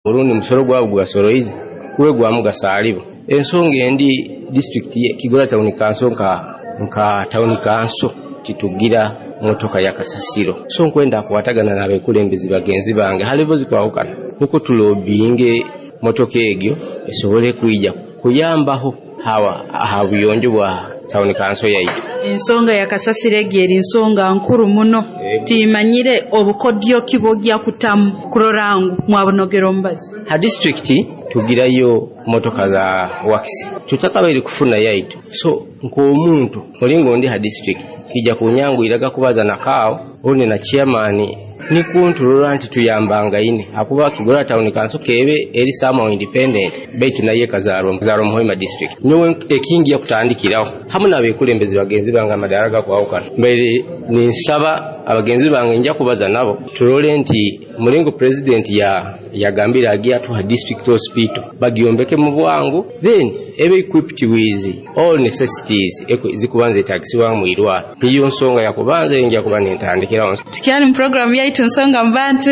Orundi musoro gwabo gwebasoroize gube gwa mugaso halibo. Ensonga endi, disitulikiti Kigorora Town Council nka town council titugira motoka ya kasasiro, so nkwenda kukwatagana n'abakulembeze bagenzi bange ha level zikwahukana nukwo tulobbyinge motoka egyo esobole kwija kuyambaho aha buyonjo bwa town council yaitu. Ensonga ya kasasiro egi eri nsonga nkuru muno. Timanyire obukodyo ki bwojja kutamu kurora ngu mwabunogera omubazi. Ha disitulikiti tugirayo motoka za works, tutakabaire kufuna yaitu. So nk'omuntu mulingo ndi ha disitulikiti kijja kunyanguyiraga kubaza na CAO orundi na chairman nikwo nturora nti tuyambangaine, akuba Kigorora Town Council kebe eri somehow independent, baitu naye kazarwa mu Hoima District. Nyowe ekingi yakutandikiraho hamu n'abekulembeze bagenzi bange amadaara gakwahukana, mbaire ninsaba abagenzi bange nja kubaza nabo turole nti mulingo president yagambire agiye atuha district hospital bagyombeke mu bwangu, then ebe equipped with all necessities zikubanza etagisibwa mu irwaro. Niyo nsonga yakubanza nja kuba nentandikiraho. Tukyali mu program yaitu Nsonga mu Bantu,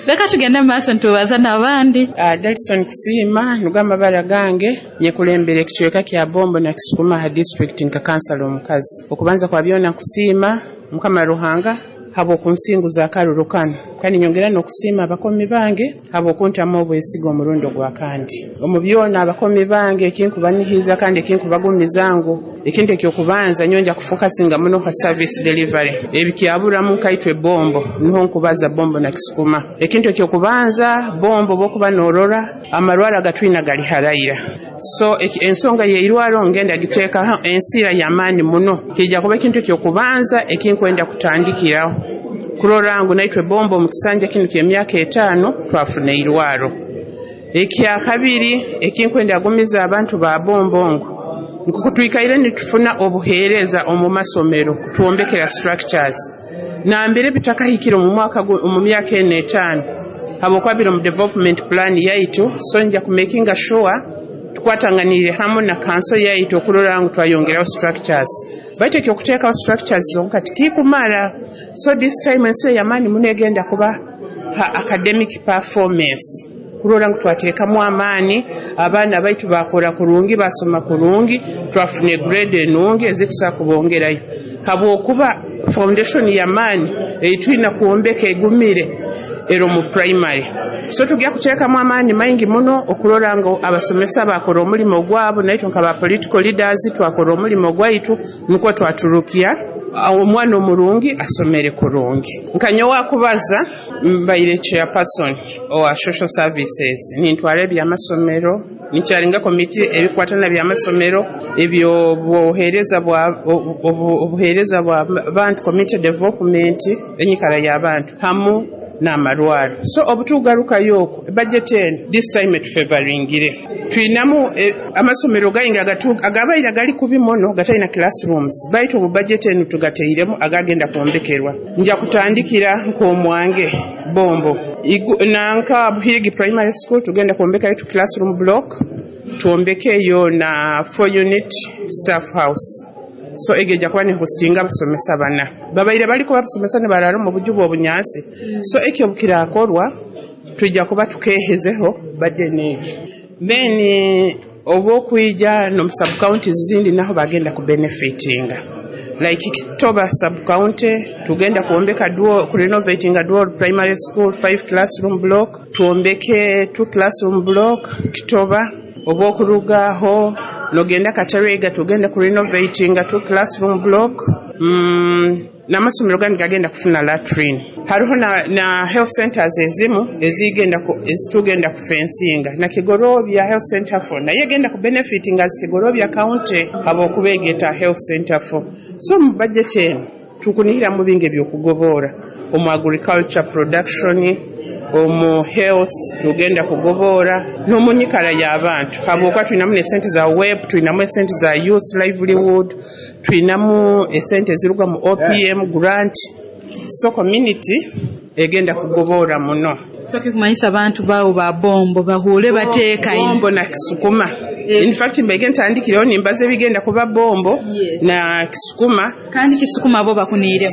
leka tugende mu maaso ntubaza n'abandi. Dalison Kusiima nugo amabara gange, nyekulembera ekicweka kya Bombo na Kisukuma ha district nka kansala omukazi. Okubanza kwa byona nkusiima Mukama Ruhanga habw'okunsinguza akaruru kanu, kandi nyongera n'okusiima abakomi bange habw'okuntamu obwesiga omurundi ogwa kandi. Omu byona abakomi bange ekinkubanihiza kandi ekinkubagumiza ngu ekintu ekyokubanza nyonja kufokasinga muno ha service delivery. Ebikyaburamu nkaitwe Bombo, niho nkubaza Bombo na Kisukuma. Ekintu ekyokubanza Bombo bwokuba norora amarwara agatwina gali harayira. So ensonga y'eirwaro ngenda giteekaho ensira y'amaani muno, kijja kuba ekintu ekyokubanza ekinkwenda kutandikiraho kurora ngu naitwe Bombo mu kisanja kinu ky'emyaka 5 twafuna eirwaro. Ekyakabiri ekinkwenda agumiza abantu ba Bombo ngu nkuko twikaire nitufuna obuheereza omu masomero kutwombekera structures nambere bitakahikire omu mwaka omu myaka eno 5 habwokuba mu development plan yaitu. So nja kumakinga sure tukwatanganire hamu na kanso yaitu okurora ngu twayongeraho structures, baitu ekyokuteekaho structures zonka tikikumara. So this time ensi ey'amaani muno egenda kuba ha academic performance, kurora ngu twateekamu amaani abaana baitu bakora kurungi, basoma kurungi, twafuna grade enungi ezikusa kubongerayo, habwokuba foundation y'amaani eitwina kwombeka egumire ero mu primary. So tujja kuteekamu amaani maingi muno okurora ngu abasomesa bakora omulimo gwabo, naitwe nka political leaders twakora omulimo gwaitu nukwo twaturukia omwana omurungi asomere kurungi. Nkanyowe akubaza mbaire chairperson owa social services, nintwara ebyamasomero, nikyaringa komiti ebikwatana byamasomero, ebyo obuheereza bwa bantu, community development, enyikara y'abantu hamu n'amarwaro. So obutugarukayo okwo budget eno this time etufavoringire, twinamu amasomero gaingi agabaire gali kubi muno gatalina classrooms, baitu omu budget eno tugateiremu agagenda kwombekerwa. Nja kutandikira nk'omwange Bombo nanka Buhigi Primary School tugenda kwombekayo tu classroom block, twombekeyo na 4 unit staff house. So egeja kuba ni hostinga abasomesa bana babaire baliko babasomesa ne barara mu buju bw'obunyansi. So ekyo bukirakorwa tujja kuba tukehezeho badde n'ebyo, then obwokwija no sub counties zindi naho bagenda ku benefitinga, like Kitoba sub county tugenda kuombeka duo, ku renovating a dual primary school 5 classroom block, tuombeke 2 classroom block Kitoba. Obwokurugaho nogenda Katerega tugenda ku renovating a 2 classroom block. N'amasomero gandi gagenda kufuna latrine. Hariho na health centers ezimu ezitugenda kufensinga na Kigorobya health center 4 naye egenda ku benefiting as Kigorobya county habwokuba egeta health center 4. So mu budget eno tukunihira mu bingi ebyokugobora omu agriculture production, omu health tugenda kugobora n'omunyikara y'abantu, habwokuba twinamu esente za web, twinamu esente za youth livelihood, twinamu esente eziruga mu OPM grant. So community egenda kugobora muno. So kikumanyisa abantu baawe ba Bombo bahuule bateekaine. Bombo na Kisukuma. In fact, mbege ntandikireho nimbaza ebigenda kuba Bombo na Kisukuma. Kandi Kisukuma bo bakuniiremu.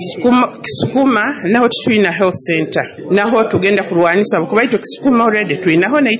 Kisukuma naho titwina health center, naho tugenda kurwanisa, kuba itwe Kisukuma already twinaho naita.